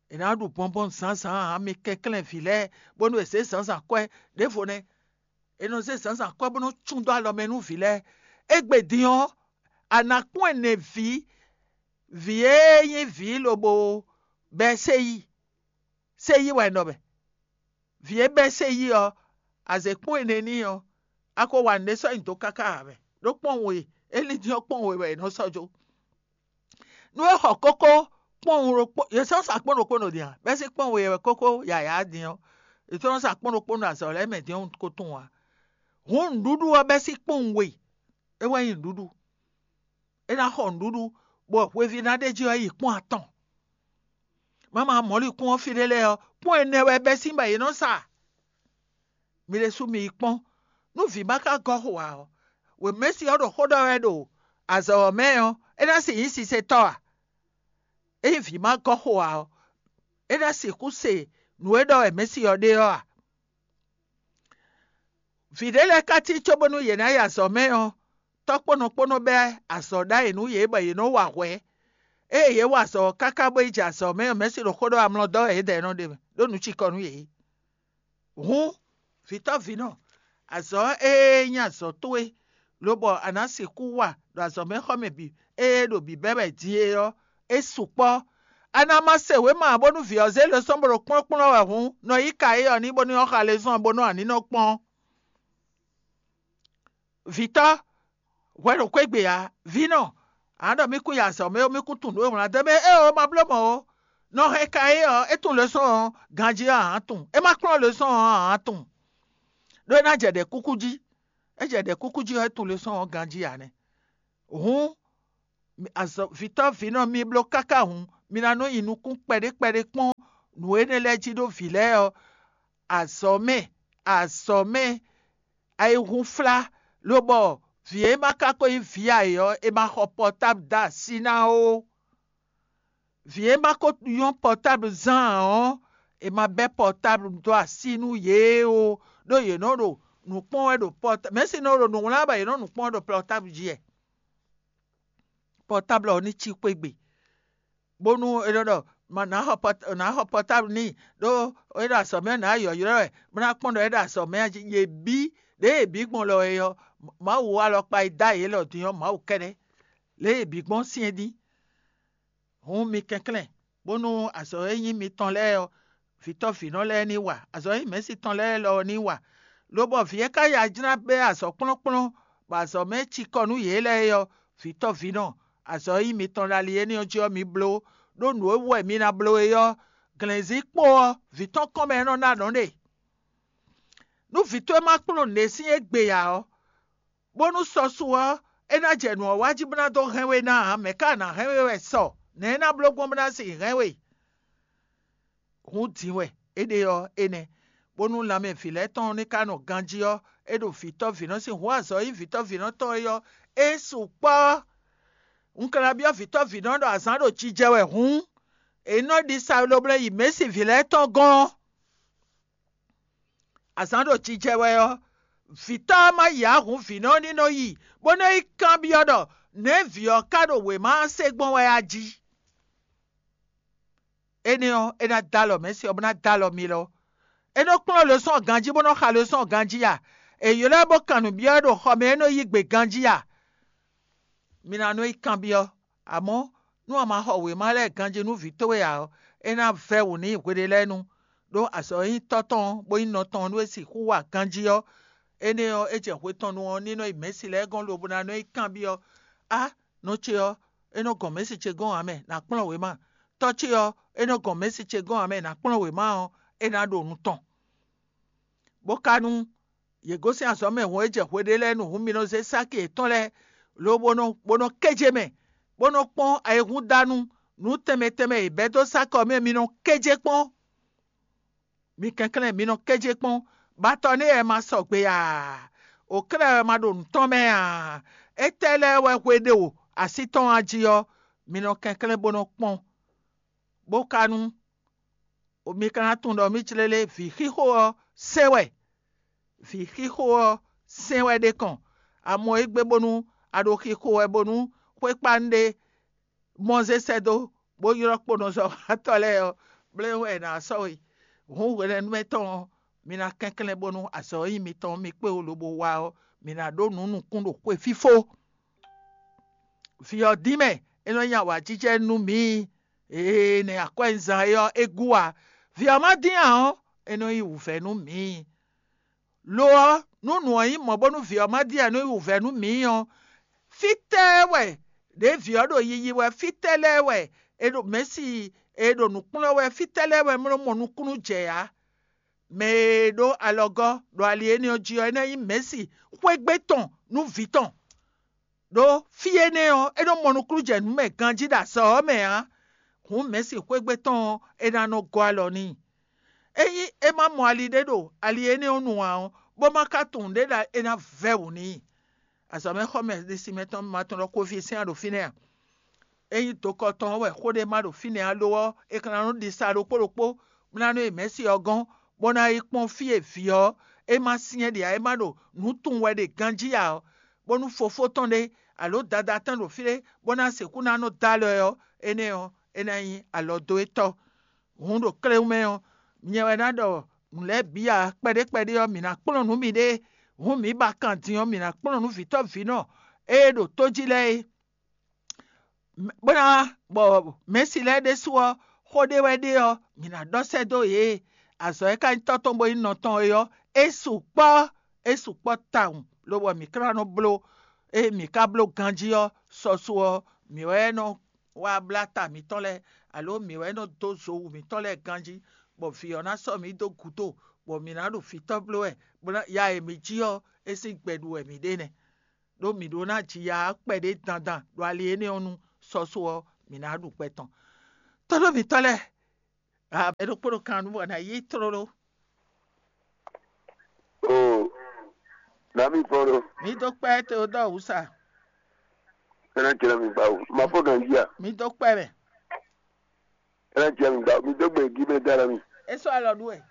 È nǎ ɖu bonbɔ́n zǎnzǎn ǎ, mi kɛnklɛ́n vǐ lɛ́ɛ bónú è zě zǎnzǎn kwɛ́ ɖěvo nɛ́. È nɔ zé zǎnzǎn kwɛ́ bó nɔ́ cún dó alɔ mɛ nú vǐ lɛ́ɛ. Égbé din ɔ́, a nǎ kpɔ́n ɛnɛ vǐ, vǐ e nyí vǐ lobo bɛ́ séyí. Séyí wɛ è nɔ bɛ́. Vǐ e bɛ́ séyí ɔ́, a zě kpɔ́n ɛnɛ n'i ɔ́, a ko wa nǔɖé sɔ́ nyi dǒ káká ǎ mɛ. Ɖó kpɔ́n we, é lín din ɔ́ kpɔ́n we wɛ è nɔ sɔ́ jó. Nú é xɔ kókó kpɔ́nwun ɖokpó, yě sɔ́ sa kpɔ́n ɖokpó nɔ din a? Bɛ́ sín kpɔ́nwun e wɛ kókó yǎyá din ɔ́, yě sɔ́ sa kpɔ́n ɖokpó nɔ azɔ̌ lɛ́ɛ mɛ din ɔ́ ko tunwun ǎ. Hǔn nǔɖuɖu ɔ́ bɛ́ sín kpɔ́nwun we, é wɛ nyí nǔɖuɖu. É ná xɔ nǔɖuɖu, bɔ hweví ná ɖ'é jí ɔ́ yi kpɔ́n atɔn. Mama mɔ̌likún ɔ́ fí ɖé lɛ́ɛ ɔ́, kpɔ́n ɛnɛ wɛ bɛ́ sín bɔ yě nɔ sa. Mi ɖésú mi yi kpɔ́n, nú vǐ ma ka gɔ́ xo ǎ ɔ́, wěmɛ́si ɔ́ ɖo xó ɖɔ wɛ ɖo azɔ̌ ɔ́ mɛ ɔ́, é ná sixú nyí sisetɔ́ a? Ényí vǐ ma gɔ́ xo ǎ ɔ́, é ná sixú se nǔ e ɖɔ wɛ mɛ̌si ɔ́ ɖe ɔ́ a? Vǐ ɖé lɛ́ɛ ka cí cóbónú yě ná yi azɔ̌ mɛ ɔ́, tɔ́ kpónɔ kpónɔ bɛ́ azɔ̌ ɖ'ayǐ nú yě bɔ yě nɔ́ wa hwɛ̌. Ée yě wa azɔ̌ ɔ́ káká bó yi jɛ azɔ̌ mɛ ɔ́, mɛ̌si ɖo xó ɖɔ amlɔ dɔ́ wɛ yědɛɛ nɔ ɖe mɛ, ɖó nǔ cikɔ nú yě. Hǔn, vǐtɔ́ vǐnɔ, azɔ̌ e nyí azɔ̌ towe, lobɔ a nǎ sixú wa ɖo azɔ̌mɛxɔmɛ bǐ e ɖo bǐbɛ́ wɛ din é ɔ́, é sukpɔ́. A ná ma se wěma ǎ bónú vǐ ɔ́ zé lɛ́sɔ́n bó ɖo kplɔ́nkplɔ́n wɛ hǔn, nɔ yí ka éyɔ́ n'i bónú é xá lɛ́ zɔ́n bónú a ní nɔ kpɔ́n. Vǐtɔ́, hwɛ ɖo xwé gbe ǎ. Vǐnɔ, a nǎ ɖɔ mì kún yi azɔ̌ mɛ ó, mì kún tunwun nǔ e wlán dó mɛ é ó, ma bló mɔ̌ ó. Nɔ hɛn ka é ɔ́, é tunwun lɛ́sɔ́n ɔ́ ganjí ɔ́ ǎ tunwun; é ma kplɔ́n lɛ́sɔ́n ɔ́ ǎ tunwun. Ɖó é ná jɛ ɖɛ̌ kúkú jí. É jɛ ɖɛ̌ kúkú jí ɔ́, é tunwun lɛ́sɔ́n ɔ́ ganjí ǎ nɛ́. Hǔn, azɔ̌ vǐtɔ́ vǐnɔ mi bló káká hǔn, mi ná nɔ nyi nukún kpɛɖé kpɛɖé kpɔ́n nǔ énɛ́ lɛ́ɛ jí ɖó vǐ lɛ́ɛ ɔ́, azɔ̌ mɛ, azɔ̌ mɛ, ayihúnflá, lobɔ vǐ e ma ka ko nyí vǐ ǎ é ɔ́, è ma xɔ pɔtáblu dó así ná ó. Vǐ e ma ko nyɔ́ pɔtáblu zán ǎ ɔ́, è ma bɛ́ pɔtáblu dó así nú yě ó, ɖó yě nɔ ɖo nǔ kpɔ́n wɛ ɖo pɔtáblu, mɛ̌si nɔ ɖo nǔ wlán bɔ yě nɔ nǔ kpɔ́n wɛ ɖo pɔtáblu jí wɛ. Pɔtáblu ɔ́ ní cí xwé gbe, bónú é nɔ ɖɔ ma nǎ xɔ pɔt- nǎ xɔ pɔtáblu n'i, ɖó é ɖo azɔ̌ mɛ ɔ́, nǎ yɔ̌yrɔ wɛ, bó ná kpɔ́n ɖɔ é ɖo azɔ̌ mɛ a jí. Yě bí, ɖěe yě bí gbɔn lɔ é ɔ́, Mawu alɔkpa e dó ayǐ élɔ́ din ɔ́, Mawu kɛ́ɖɛ́, lě e yě bí gbɔn syɛ́n dín. Hǔn mi kɛnklɛ́n, bónú azɔ̌ e nyí mitɔn lɛ́ɛ ɔ́, vǐtɔ́ vǐnɔ lɛ́ɛ ní wa; azɔ̌ e nyí mɛ̌si tɔn lɛ́ɛ lɔ ɔ́ ní wa. Lobɔ vǐ e ka ya jlá bɛ́ azɔ̌ kplɔ́nkplɔ́n, bɔ azɔ̌ mɛ cikɔ nú yě lɛ́ɛ é ɔ́, vǐtɔ́ vǐnɔ, azɔ̌ e nyí mitɔn ɖo ali énɛ́ ɔ́ jí ɔ́, mi bló, ɖó nǔ e wú wɛ mi ná bló é ɔ́, glɛ̌nzín kpo ɔ́, vǐ tɔn kɔn mɛ é nɔ ná nɔ̌ ɖe. Nú vǐ towe ma kplɔ́n nǔɖé sín égbé ǎ ɔ́, bónú sɔ su ɔ́, é ná jɛ nǔ ɔ́ wa jí bó ná dó hɛn we ná ǎ, mɛ̌ ka ná hɛn we wɛ sɔ? Nɛ̌ é ná bló gbɔn bó ná sixú hɛn we? Hǔn din wɛ é ɖe ɔ́ énɛ́, bónú lanmɛ vǐ lɛ́ɛ tɔn ní ka nɔ ganjí ɔ́, é ɖo vǐtɔ́ vǐnɔ sín hǔn azɔ̌ e nyí vǐtɔ́ vǐnɔ tɔn é ɔ́, é sukpɔ́. Un ka ná byɔ́ vǐtɔ́ vǐnɔ ɖɔ azǎn ɖo jijɛ wɛ hǔn, è nɔ ɖi sa loblɛ́ yi mɛ̌si vǐ lɛ́ɛ tɔn gɔ́n. Azǎn ɖo jijɛ wɛ ɔ́, vǐtɔ́ ɔ́ ma yi ǎ hǔn vǐnɔ ɔ́ ní nɔ yi, bó nɔ́ yi kanbyɔ́ ɖɔ nɛ̌ vǐ ɔ́ ka ɖo wěma ɔ́ se gbɔn wɛ a jí? Énɛ́ ɔ́, é ná dó alɔ mɛ̌si ɔ́, bó ná dó alɔ mi lɔ. É nɔ kplɔ́n losɔ́n ganjí bó nɔ xa losɔ́n ganjí a? È ylɔ́ ɛ bó kan nǔ byɔ́ ɛ ɖo xɔ mɛ, é nɔ yí gbe ganjí a? Mi ná nɔ yi kanbyɔ́. Amɔ̌, nú a ma xɔ wěma lɛ́ɛ ganjí nú vǐ towe ǎ ɔ́, é ná vɛ́ wǔ n'i hweɖé lɛ́ɛ nu, ɖó azɔ̌ e nyí tɔ́ tɔn ɔ́, bó nyí nɔ tɔn ɔ́, nú é sixú wa ganjí ɔ́, énɛ́ ɔ́, é jɛ hwe tɔn nu ɔ́, ní nɔ yi mɛ̌si lɛ́ɛ gɔ́n lobo ná nɔ yi kanbyɔ́: Á, nɔ ce ɔ́, é nɔ gɔn mɛ̌si ce gɔ́n ǎ mɛ, nǎ kplɔ́n wěma. Tɔ́ ce ɔ́, é nɔ gɔn mɛ̌si ce gɔ́n ǎ mɛ, nǎ kplɔ́n wěma ɔ́, é ná ɖo nu tɔn. Bó ka nú yě gosín azɔ̌ mɛ hǔn é jɛ hweɖé lɛ́ɛ nu hǔn, mi nɔ zé sáki yětɔn lɛ́ɛ, lobo nɔ bó nɔ kéje mɛ, bó nɔ kpɔ́n ayihúndanu nǔ tɛnmɛ tɛnmɛ e bɛ́ dó sáki ɔ́ mɛ, mi nɔ kéje kpɔ́n. Mi kɛnklɛ́n, mi nɔ kéje kpɔ́n, bɔ atɔ nɛ́ wɛ ma sɔgbe aa, Oklɛ́ wɛ ma ɖo nǔ tɔn mɛ ǎ. Étɛ́ lɛ́ɛ wɛ hwe ɖe o así tɔn a jí ɔ́, mi nɔ kɛnklɛ́n bó nɔ kpɔ́n, bó ka nú mi ka ná tunwun ɖɔ mǐ jlé lé vǐ xixo ɔ́ sɛn wɛ. Vǐ xixo ɔ́ sɛn wɛ ɖe kɔn. A mɔ égbé bónú a ɖo xixo wɛ bónú xwékpanu ɖé mɔ zé sɛ́ dó, bó ylɔ́ kponɔzɔ́watɔ́ lɛ́ɛ ɔ́, blɛ́ wɛ è nǎ sɔ́ we. Hǔn hwenɛ́nu mɛ tɔn ɔ́, mi ná kɛnklɛ́n bónú azɔ̌ e nyí mitɔn ɔ́, mi kpé wú lobo wá ɔ́, mi ná ɖó nǔ nukún ɖo xwe fífó. Vǐ ɔ́ dín mɛ, é nɔ nyi awǎjijɛ nú mǐ. Ee, nɛ̌ akwɛ́nzan é ɔ́, é gú ǎ. Vǐ ɔ́ ma dín ǎ ɔ́, é nɔ nyí wǔvɛ́ nú mǐ. Lo ɔ́, nú nǔ ɔ́ nyí mɔ̌ bónú vǐ ɔ́ ma dín ǎ, é nɔ nyí wǔvɛ́ nú mǐ ɔ́, fítɛ́ wɛ ɖěe vǐ ɔ́ ɖo yiyi wɛ, fítɛ́ lɛ́ɛ wɛ è ɖo mɛ̌si, è ɖo nǔ kplɔ́n wɛ, fítɛ́ lɛ́ɛ wɛ é nɔ mɔ nukúnnú jɛ ǎ? Mɛ e ɖó alɔgɔ́ ɖo ali énɛ́ ɔ́ jí ɔ́, é ná nyí mɛ̌si xwégbé tɔn nú vǐ tɔn. Ɖó fí énɛ́ ɔ́, é nɔ mɔ nukúnnú jɛ nǔ mɛ ganjí ɖo azɔ̌ ɔ́ mɛ ǎ. Hǔn mɛ̌si xwégbé tɔn ɔ́, é ná nɔ gɔ́ alɔ n'i. Ényí é ma mɔ ali ɖé ɖo ali énɛ́ ɔ́ nu ǎ ɔ́, bó ma ka tunwun ɖě ɖɔ é ná vɛ́ wǔ n'i. Azɔ̌mɛxɔmɛ ɖisí mɛtɔn ma tunwun ɖɔ koví sɛ́n ɖo fínɛ́ a? Ényí dokɔ tɔn ɔ́ wɛ xó ɖé ma ɖo fínɛ́ ǎ lo ɔ́, è ka ná nɔ ɖi sa ɖokpó ɖokpó, bó ná nɔ yi mɛ̌si ɔ́ gɔ́n, bó ná yi kpɔ́n fí e vǐ ɔ́ é ma syɛ́n ɖe ǎ, é ma ɖo nǔ tunwun wɛ ɖe ganjí ǎ ɔ́, bónú fofó tɔn ɖé alǒ dadá tɔn ɖo fí ɖé, bó ná sixú ná nɔ dó alɔ ɛ ɔ́, énɛ́ ɔ́, é ná nyí alɔ dó étɔ́. Hǔn ɖo kléwún mɛ ɔ́, nyɛ wɛ ná ɖɔ nǔ lɛ́ɛ bǐ ǎ. Kpɛɖé kpɛɖé ɔ́, mǐ ná kplɔ́n nǔ miɖée. Hǔn mǐ ba kan din ɔ́, mǐ ná kplɔ́n nǔ vǐtɔ́ vǐnɔ e ɖo tó jí lɛ́ɛ é. Bó ná bɔ mɛ̌si lɛ́ɛ ɖésú ɔ́, xó ɖé wɛ ɖe ɔ́, mǐ ná ɖɔ sɛ́ dó yě. Azɔ̌ e ka nyí tɔ́ tɔn bó nyí nɔ tɔn é ɔ́, é sukpɔ́, é sukpɔ́ tawun, lobɔ mǐ ka ná nɔ bló. Ée mǐ ka bló ganjí ɔ́, sɔ́sú ɔ́, mǐ wɛ nɔ wá blá ta mǐtɔn lɛ́ɛ, alǒ mǐ wɛ nɔ dó zo wǔ mǐtɔn lɛ́ɛ ganjí, bɔ vǐ ɔ́ ná sɔ́ mǐ dó gǔdo, bɔ mǐ ná ɖo vǐtɔ́ bló wɛ, bó ná ya e mǐ jí ɔ́, é sín gbɛ ɖu wɛ mǐ ɖe nɛ́. Ɖó mǐ ɖó ná ji ya ɔ́ kpɛɖé dandan ɖo ali énɛ́ ɔ́ nu sɔ́só ɔ́, mǐ ná ɖu gbɛ tɔn. Tɔ́ ɖo mǐtɔn lɛ́ɛ, a mɛ ɖokpó ɖo kan nú bɔ ná yí tlóló. Oo, nǎ mi fɔ́n ɖó. Mǐ dó kpɛ́ Teodɔ́ɔ wǔ sa. É ná jɛ mi gbá o. Ma fó ganjí a? Mǐ dó kpɛ́ mɛ. É ná jɛ mi gbá o. Mi dó gbe gí mɛ dá na mi. É sɔ́ alɔ ɖu wɛ.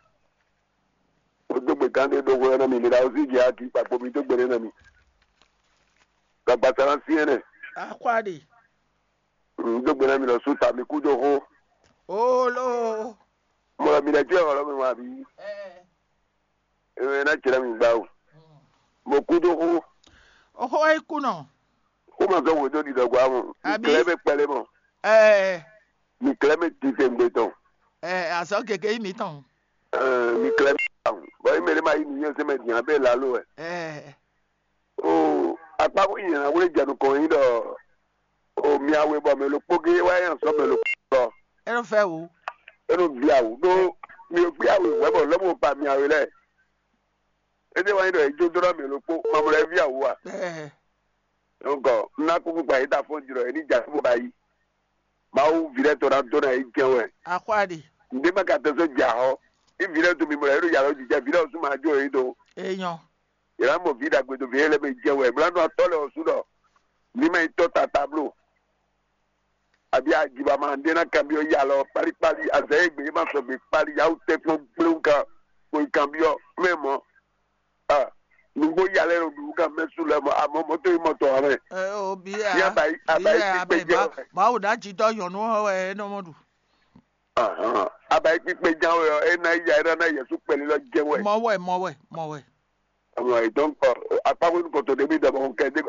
O dó gbe gán ɖé ɖó hwɛ ná mi. Mi ɖa o sí jɛ akí kpakpo mi dó gbe ɖé ná mi. Gbàgbà sara sí ɛnɛ. Axwá ɖe. Un dó gbe ná mi lɔ sú ta mi kú dó xó. Ooloo. Mo lɔ mi lɛ jẹ́ ọ̀rọ̀ mi wá bí. Ẹ ẹ ná jẹ́ mi gbá o. Mo kú dó xó. Oxó é kú nɔ. Xó ma sɔ wò dó ɖiɖɔ gba mɔ. Àbí? Klɛ bɛ kpɛlɛ mɔ. Ẹ mi klɛ bɛ titɛ ŋgbɛ tɔn. Ẹ azɔ gege yi mi tɔn. Ẹ mi klɛ bɛ tɔn. Bɔn yi mɛ ne ma yi mi yɛn sɛ mɛ diyan bɛ lalo wɛ. Ẹ. Oo, akpákó nyina wlé jɛ nukɔn nyi ɖɔ o miawe bɔ mɛ ɖokpó gé wá nyi azɔ̌ mɛ ɖokpó lɔ. É nɔ fɛ wǔ. É nɔ bia wǔ ɖó mi ò gbé awe wǔ wɛ bɔ lɔ̌ mɔ ba miawe lɛ́ɛ. É ɖé wá nyi ɖɔ è jó dó ɖɔ mɛ ɖokpó mamlɛ ví awǔ a. Ɛɛ, Donc un ná kúkú gba yě ta fɔ́n jlɔ̌ é ní jɛ así bó ba yí. Mawu ví lɛ́ɛ tɔn ná dó ná yí jɛ́n wɛ. Axwá ɖe. Ǹdé ma ka tɛ́ sɔ́ jɛ axɔ́. Ní ví lɛ́ɛ dó mi mɔ yě ɖo yàrá ojijɛ ví lɛ́ɛ ɔ́ sú ma jó yě ɖó. Enyɔ. Yě ná mɔ vǐ ɖagbe dó vǐ e lɛ́ mɛ jɛ wɛ. Blanú atɔ́ lɛ́ɛ ɔ́ sú ɖɔ ní má nyí tɔ́ tata bló. Abí ajibama ɖé ná kanbyɔ́ ya lɔ kpálíkpálí azǎn e gbě ma sɔgbe kpálí yawú tɛ́nkpɔ́n gbléwú kan kpo yi kanbyɔ́ mɛ mɔ̌. Ah, nǔgbó ya lɛ́ɛ ɖo ɖuɖu kan mɛ sú lɛ́ɛ mɔ amɔ̌ mɔ̌ tó nyí mɔ tɔn ǎ mɛ. Ɛ o bi ɛ Ní abayi abayi abayi kpíkpé jɛ ma wɛ. Mawu ná jí dɔ nyɔ̌nu ɔ́ wɛ é nɔ mɔ ɖu. Ahan, abayi kpíkpé ján wɛ ɔ́, é ná yí ya é ná ná Yɛsu kpɛlí lɔ jɛ́n wɛ. Mɔ wɛ mɔ wɛ mɔ wɛ. Amɔ donc akpákó ní kòtò ɖé mí dɔmɔ kɛ ɖé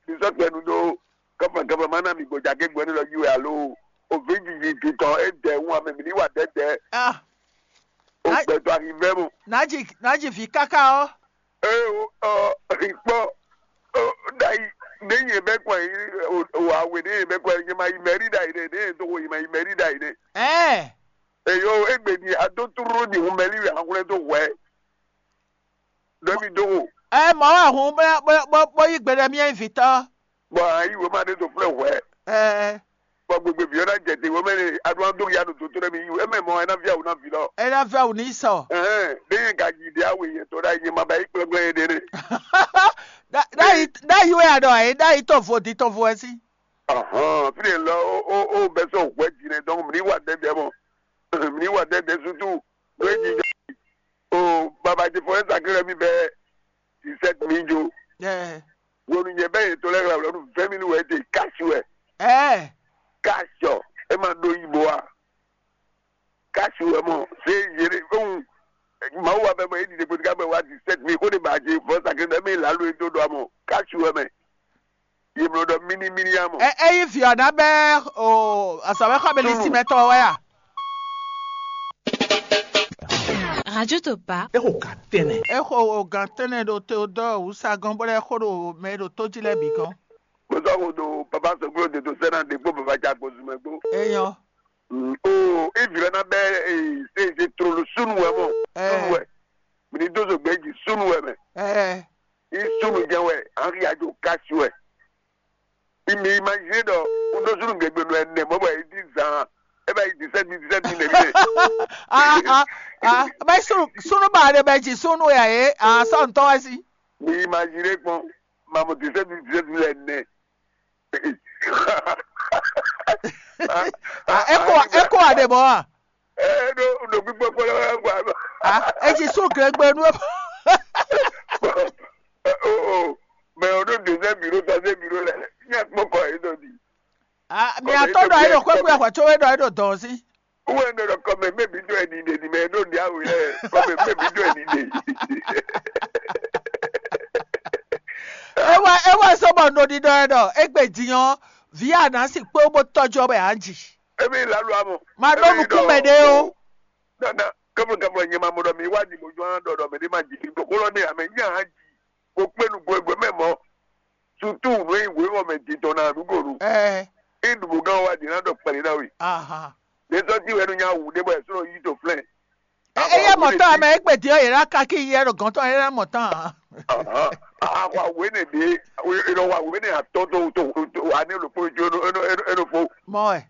ní sɔ́ tɛnu ɖó kɔfɛ kɔfɛ má ná mi gbɔjá ké gbɔn ní lɔ yí wɛ alo òfin jiji titɔ é dɛ wú amɛ mi ní wà dɛdɛ. Ah, ó gbɛtɔ ahi vɛ mu. Nájì nájì vi káká ɔ. Ee o ɔ kpɔ ɖayi ne yẹn bɛ kɔ yi o awe ne yẹn bɛ kɔ yi ma yi mɛri ɖayi ɖe ne yẹn to ko yi ma yi mɛri ɖayi ɖe. Ɛɛ. Eyo egbe ni ado turu ni hun mɛli wɛ ahun lɛ do hwɛ. Ɖɔ mi do o. Ɛ mɔ wɛ hun bó bó bó bó yí gbe ɖe mía vitɔ. Bɔn ayi wema ɖe do flɛ hwɛ. Ɛɛ. Bɔ gbegbe vǐ ɔ́ ná jɛ te wɛ mɛ ne aɖu ná dó ya ɖo doto ɖé mi yí wɛ mɛ mɔ ɛ ná via wǔ ná vǐ lɔ. Ena vɛ wǔ ní sɔ. Ɛhɛn, ɖé yẹn ka yi ɖe awe yẹn tɔ ɖe ayi nyɛ ma ba yi kplɔ́nplɔ́n yɛ ɖe ɖe. Ɖayi ɖayi wɛ aɖɔ ɛ ɖayi tɔn vo di tɔn vo ɛ sí. Ahɔn fi ɖe lɔ o o o bɛ sɔ hwɛ dzi nɛ dɔnku mi ní wa dɛdɛ mɔ mi ní wa dɛdɛ sutu ló é jijɔ o baba ti fɔ ɛ sakre mi bɛ dix-sept mi jo. Ɛ Wonu nyɛ bɛ yẹn tɔ lɛ ɣla wlɔ nu vingt mille wɛ te kasi wɛ. Ɛ Kasi ɔ e ma ɖo yibo a? Kasi wɛ mɔ se yere ohun Mawu wa bɛ mɔ e ɖiɖe kpoti ka bɛ wa dix-sept mille ko de ba je fɔ sakre dɛ mi la lo e do do amɔ kasi wɛ mɛ. Ye mlɔ ɖɔ mini mini amɔ. Ɛ Eyi vǐ ɔ́ ná bɛ́ o azɔ̌wɛ́xɔ́mɛ lísí mɛtɔn wɛ a? Radio Topa. Exo ka tɛnɛ. Exo o gan tɛnɛ ɖo te o dɔ wusa gɔn bɔ lɛ xo ɖo mɛ ɖo tó jí lɛ bǐ gɔn. Mo sɔ ko do papa sɔgblo de to sɛnɛ de kpo papa ca ko zumɛ gbo. Eyɔn. Mm, o e vǐ lɛ ná bɛ e se se trolo sunu wɛ mɔ. Ɛ. Sunu wɛ. Mi ní dó zogbe jí sunu wɛ mɛ. Ɛ. I sunu jɛ wɛ an ya jo kasi wɛ. I mi imagine ɖɔ un dó sunu gɛgbɛ nɔ ɛnɛ mɔ bɔ e di zan e bɛ yi dix-sept mille dix-sept mille nɛ mi nɛ. Ah ah ah. Bɛ sunu sunu ba de bɛ ji sunu ya ye ah sɔ ntɔ wɛ si. Mi imagine kpɔn mamu dix-sept mille dix-sept mille ɛnɛ. Ah, eko eko ade bɔ a. Ɛ ɖo ɖo gbígbɔ kpɔlɔ wɛ gba lɔ. Ah, e ji sún gɛgbɛ nú ɛ. O o mɛ o ɖo deuxième bureau troisième bureau lɛ nyɛ kpɔkɔ yìí ɖo di. Ah, mi atɔ dɔ e ɖo kpɛkpɛ ahwa tso e dɔ e ɖo dɔn si. Wọ́n ń dọ̀rọ̀ kọ́ mẹ́ mẹ́bí dọ́ ẹni dè ní mẹ́ ló ní àwìn lẹ́ kọ́ mẹ́ mẹ́bí dọ́ ẹni dè. Ewa ewa sɔbɔ nɔ ɖiɖɔ ɛ ɖɔ egbe din ɔ́, vǐ Anasi kpé bó tɔ́jú ɔ́ bɔ yě á ji. Emi lalu amɔ. Ma ɖó nukún mɛ ɖé ó. Nana kébù kébù nyɛ ma mɔ ɖɔ mi wá di mo jɔ hã ɖɔ ɖɔ mɛ ɖé ma ji kí gbogbo lɔ ní amɛ nyɛ hã ji. Mo kpé nu gbogbo mɛ mɔ. Sutu nú yi wé mɔ mɛ di tɔn na nu gonu. Ɛ Iɖubu gán wa di na ɖɔ kpɛlɛ na we. Aha. Ɖe sɔ ti wɛ nu nya wu ɖe bɔ ɛsɛ yi to flɛ. Eye mɔtɔn amɛ egbe din ɔ́ yě ná ka kí yɛ ɖo gɔn tɔn yě ná mɔtɔn ǎ. Ahwa wé ne ɖe, e lɔ wa wé ne atɔ to to to ani lo kpo jo no eno eno eno fo. Mɔ ɛ.